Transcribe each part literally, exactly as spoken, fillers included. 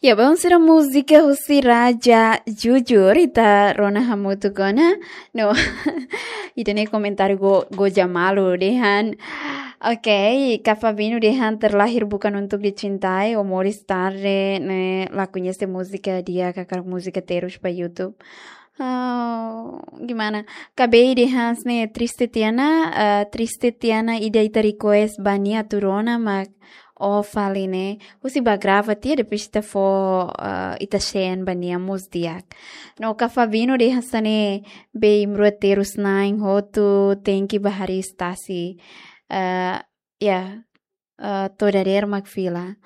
Ya, bom, sira múzika husi Raja Jujur, ita rona hamutuk ona. No, ita-nia komentáriu go, goza malu dehan. Oke, Kak Fabino dehan terlahir bukan untuk dicintai, o moris tarde ne'e la koñese múzika di'ak, hakarak múzika terus ba YouTube. Oh, gimana? Kak Bey dehan hanesan ne'e, triste tiha ona, eh, triste tiha ona ida ita request ba nia atu rona mak ó fali ne'e. Husi bá grava tiha depois ita fó, eh, ita send ba nia mós di'ak. No Kak Fabino dehan hanesan ne'e, Bey, imi rua terus na'in hotu, tenke bá hariis tasi. Eh, ya, eh, to'o dadeer mak fila.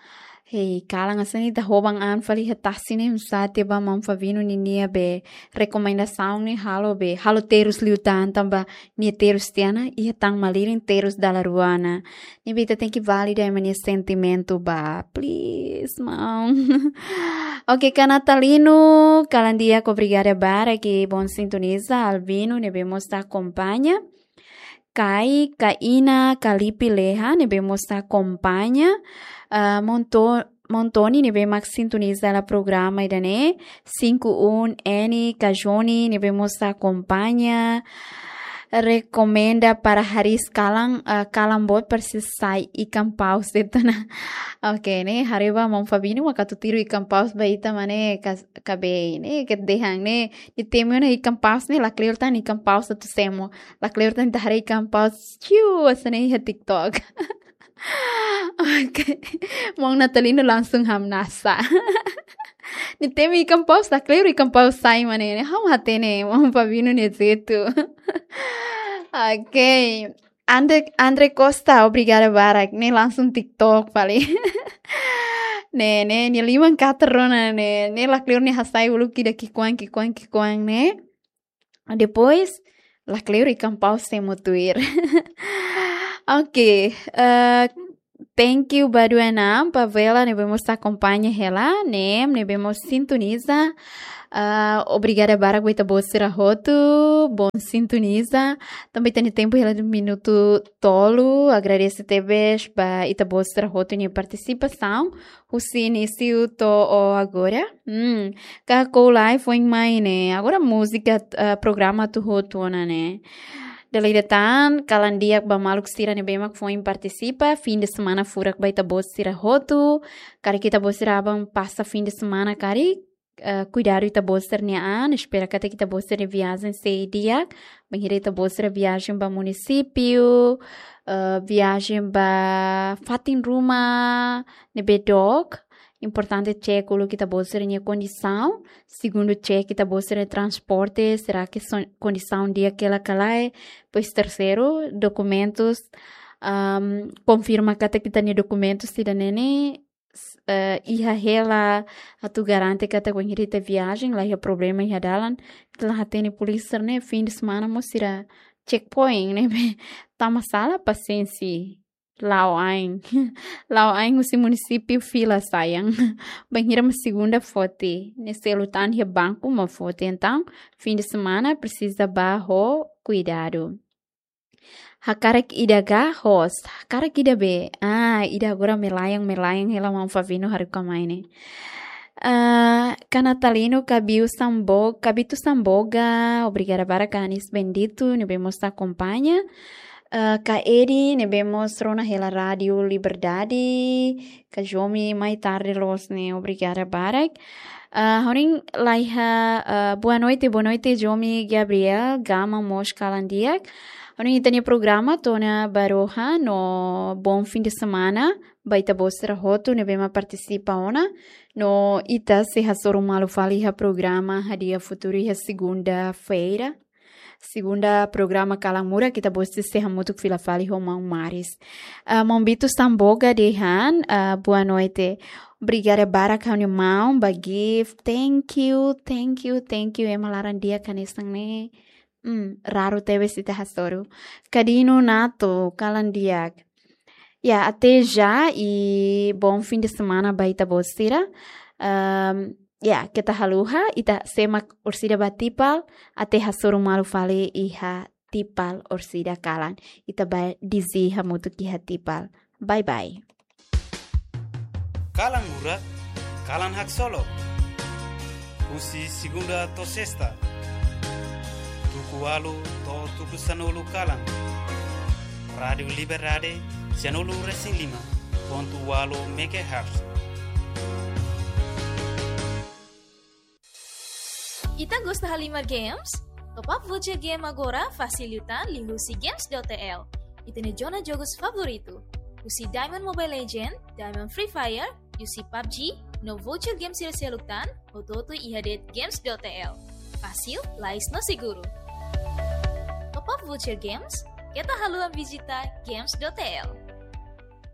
Hei, kalan hanesan ne'e ita hoban an fali iha tasi ne'e, msate ba maun Fabino ninia be rekomendasaun ne'e halo be, halo terus liután tanba nia terus tiha ona, iha tan malirin terus dala rua ona. Ne'ebé ita tenke valida ema nia sentimentu ba, please, maun. Oke, Kak Natalino, kalan di'ak, obrigada barak, ke bom sintoniza, Albino, ne'ebé mós ita akompaña. Kai, Kaina, Kalipi Leha, ne'ebé mós ita akompaña. Ah, Monto-, Montoni, ne'ebé mak sintoniza hela programa ida-ne'e. Cinco um N, Kak Joni, ne'ebé mós ita akompaña. Rekomenda para hariis kalan, ah, kalan boot para sei sai ikan paus de'it ona. Oke, ne'e, haree ba maun Fabino, mak atu tiru ikan paus ba ita mak ne'e, kas-, Kak Bey, ne'e, ke dehan ne'e, nia temi ona ikan paus ne'e, lakleur tan ikan paus atu semo. Lakleur tan ita haree ikan paus, ciu, hanesan ne'e iha TikTok. Oke. Maun Natalino langsung hamnasa. Nia temi ikan paus, lakleur ikan paus sai mak ne'e. Ha'u hatene, maun Fabino nia jeitu. Oke. Andre, Andre Costa, obrigada barak. Ne'e langsung TikTok fali. Ne'e, ne'e, nia liman katar ona ne'e. Ne'e lakleur nia hasai uluk ida ki'ikoan, ki'ikoan, ki'ikoan ne'e. Depois, lakleur ikan paus semo tuir. Oke, eh, thank you ba Duenam, Pavela, ne'ebé mós ita akompaña hela, Nem, ne'ebé mós sintoniza. Ah, obrigada barak ba ita-boot sira hotu, bom sintoniza. Tanba ita-nia tempu hela de'it minutu tolu, agradese tebes ba ita-boot sira hotu nia partisipasaun husi inísiu to'o agora. Hmm, Kak Koulai foin mai ne'e. Agora múzika, eh, programa atu hotu ona ne'e. Dala ida tan, kalan di'ak ba maluk sira ne'ebé mak foin partisipa, fim de semana furak ba ita-boot sira hotu. Karik ita-boot sira aban pasa fim de semana karik, eh, kuidadu ita-boot sira-nia an, espera katak ita-boot sira-nia viajen sei di'ak, bainhira ita-boot sira viajen ba munisípiu, eh, viajen ba fatin ruma ne'ebé dook, importante cek uluk ita-boot sira-nia kondisaun, segundu cek ita-boot sira-nia transporte, será que son-, kondisaun di'ak hela ka lae, depois terseiru, dokumentus, am, konfirma katak ita-nia dokumentus ida-ne'e ne'e, s-, eh, iha hela atu garante katak bainhira ita viajen, la iha problema iha dalan, ita la hatene polísia ne'e, fim de semana mós sira checkpoint ne'ebé tama sala, pasiénsia. La'o ain. La'o ain husi munisípiu fila sayang. Bainhira mak segunda foti. Ne'e selu tan iha banku mak foti. Entaun, fim de semana presiza bá ho kuidadu. Hakarak ida ka host? Hakarak ida be. Ah, ida agora melayang, melayang hela maun Fabino haruka mai ne'e. Ah, Kak Natalino, Kabiu Sambo-, Kabitu Samboga, obrigada barak Anis Bendito, ne'ebé mós ita akompaña. Ah, Kak Edi, ne'ebé mós rona hela Rádiu Liberdade, Kak Jomi, mai tarde loos ne'e, obrigada barak. Ah, ha'u-nia laiha, ah, boa noite, boa noite, Jomi Gabriel, Gama mós kalan di'ak. Ha'u-nia, ita-nia programa to'o ona ba rohan, no bom fim de semana ba ita-boot sira hotu ne'ebé mak partisipa ona. No ita sei hasoru malu fali iha programa Hadi'a Futuru iha segunda-feira. Segunda programa Kalan Murak, ita-boot sei hamutuk fila fali ho maun Maris. Ah, maun Bitu Samboga dehan, ah, boa noite. Obrigada barak ha'u-nia maun ba gift. Thank you, thank you, thank you. Ema laran di'ak hanesan ne'e. Hmm, raru tebes ita hasoru. Kadino Nato, kalan di'ak. Ya, até já e bom fim de semana ba ita-boot sira. Ahm, ya, keta haluha, ita semak orsida ba Tipal, até hasoru malu fali iha Tipal orsida kalan. Ita bá DJ hamutuk iha Tipal. Bye bye. Kalan Murak, Kalan Haksolok, husi segunda to'o sesta, tuku ualu to'o tuku sanulu kalan. Rádiu Liberdade, sanulu resin lima pontu ualu megahertz. Ita gosta halimar games? Top up voucher game agora fasil liután liuhusi games dot T L. Ita-nia zona jogus favoritu. Husi Diamond Mobile Legend, Diamond Free Fire, husi pabg, no voucher games sira seluk tan, hotu-hotu iha de'it games dot T L. Fasil, lais no seguru. Top up voucher games, keta haluha vizita games dot T L.